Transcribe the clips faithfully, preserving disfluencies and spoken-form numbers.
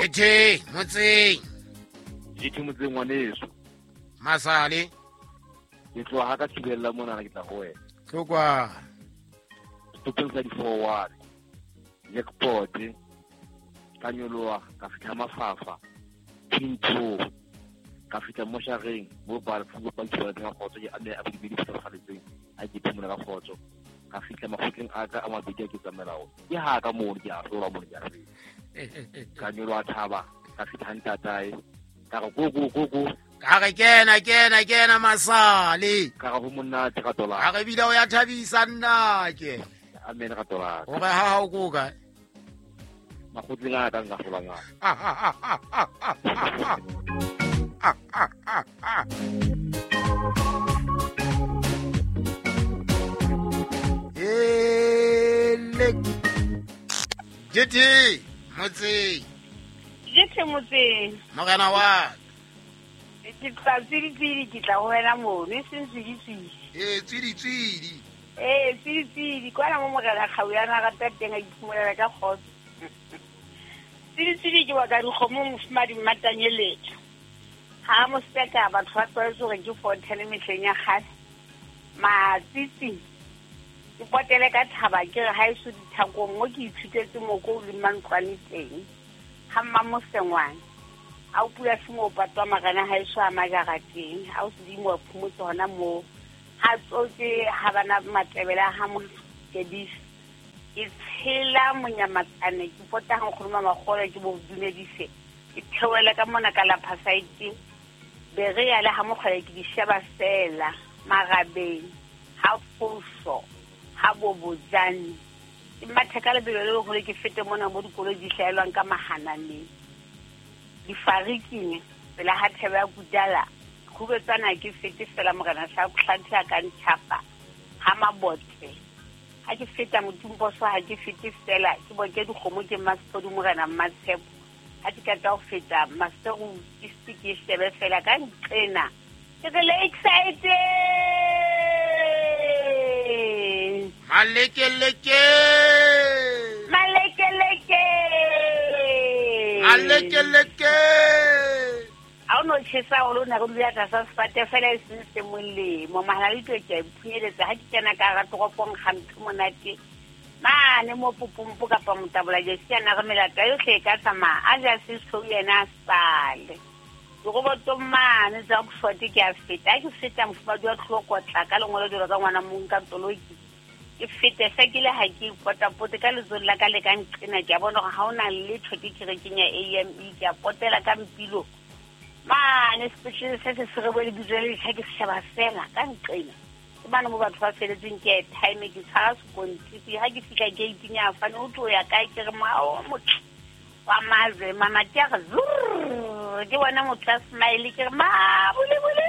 J T motseng. J T motseng ngwaneso. Masale. Ke tloha ka thibella mona ke tla ho wena. Tlokwa. Topeng tsa di forward. Jackpot. Ka nyoloha ka fihla Mafafa. Pinto. Ka fihla moshareng mo ba ba tshwara ka kgotso ke ame a bibili tshwaretseng a ke phumula ka kgotso. Ka fihla makgotleng a ka a mabedi a ke tsamaela ke ha ka mo ke a hlola mo ke a re. Ka nyoloha thaba ka fihla ntatae ka re go go go go ka re kena kena kena Masale ka re ho monate ka tola ka re bile o ya thabisa nna ke amen ka tola o re ha ha o go kae makgotleng a ka nka hlola ngaka. Ele J T motseng. J T motseng. Morena wa ke tla tswidi ke tla ho wena mono e seng tswidi tswidi. Eh tswidi tswidi. Eh tswidi tswidi kwana mo morena Kgauyana rata teng a iphumolela ka kgotso. Tswidi tswidi ke wa ka dikgomo mofumadi Mmatanyeletso. Ha mo seka batho ba tlwaetse hore ke fothele mehleng ya kgale. Matsitsi ke potele ka thaba ke re ha eso dithakong mo ke ithutetse moko o le mantlwane teng. Ha Mmamosengwane a o pula simo patwa marena ha eso a majara teng a o sedimo wa phomotse hona moo ha tsotse ha bana matebela ha mo kedisa ke tshela monyamatsane ke pota ha nkgono Makgolo ke bo dumedise ke theoela ka mona ka la phasaite be re ya le ha mokgole ke di sheba fela marabeng ha foso ha bobojane ke mathe ka lebelo le hore ke fete mona mo dikoloi di hlaelwang ka mahananeng difariking pela ha thebe ya kudala khubetsana ke fete fela morena sa tlhatlha ka ntshapa ha mabotle ha ke feta motumposo ha ke fete fela ke boke dikgomo ke Mmasepodi morena Mmatshepo ha ke ka tla ho feta Maseru ke ke shebe fela ka nqena ke re le excited malekeleke malekeleke malekeleke a o no tjhesa o lona re dula tlasa sefate fela e seng se molemo mahalalito ke a iphunyeletse ha ke kena ka hara toropong gampe monate mane mo popompo kapa motabola jesi ana re melata yohle e ka tsamaya a ja sesou yena a sale dirobotong mane tsa Oxford ke a feta ha ke feta mofumadi wa tlhokotla ka lengolo jwalo ka ngwana mong ka toloki ke fete se ke le ha ke potapote ka letsong la ka le ka nqena ke a bona hore ha ona letho ke kerekeng ya A M E ke a potela ka mpilo mane sepetlele se se se re bo lebitso le letjha ke sheba fela ka nqena ke bana mo batho ba feletseng ke airtime ke tshwara sekontiri ha ke fihla gate-ing ya fane o tlo ya kae ke re mao motho wa maze mamati a re zurr ke bona motho a smile ke re ma bole bole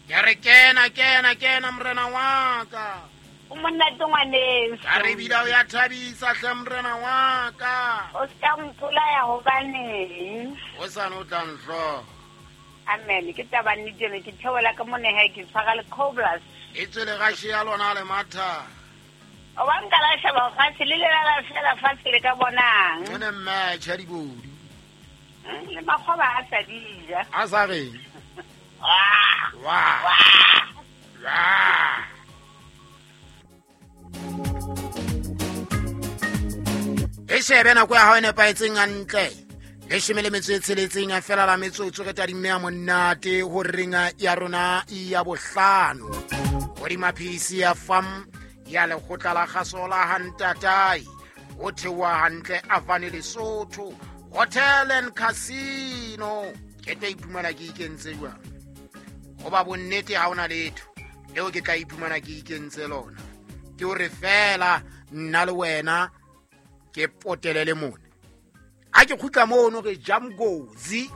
ke re kena kena kena morena wa ka o monate ngwaneso ka re bile o ya thabisa hle morena wa ka o ska mpolaya hobaneng o sa no tla nhlo amen ke taba nnete eno ke theola ka mone ha ke tshwara le cobras e tswele ga shea lona le matha o ba nka la sheba fatshe le lelala fela fatshe le ka bonang ene match ya dibodu le makgoba a sa di ja a sa reng wa wa wa e shebe nako ya hao e nepahetseng hantle leshome le metso e tsheletseng a fela la metsotso re tadimme ya monate ho renga ya rona ya bohlano hodima P C ya fam ya lekgotla la kgaso la Hantatai ho theoha hantle Avane Lesotho Hotel and Casino ke tla iphumana ke ikentse jwang hoba bonnete ha ona letho leo ke tla iphumana ke ikentse lona ke hore fela nna le wena ke potelele mona a ke kgutla mono re jamgozi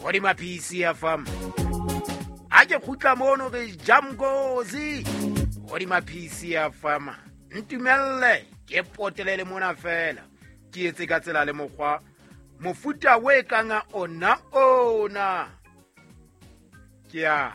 hodima P C ya fam a ke kgutla mono re jamgozi hodima P C ya fam ntumelle ke potelele mona fela ke etse ka tsela le mokgwa mofuta we kanga ona ona ke a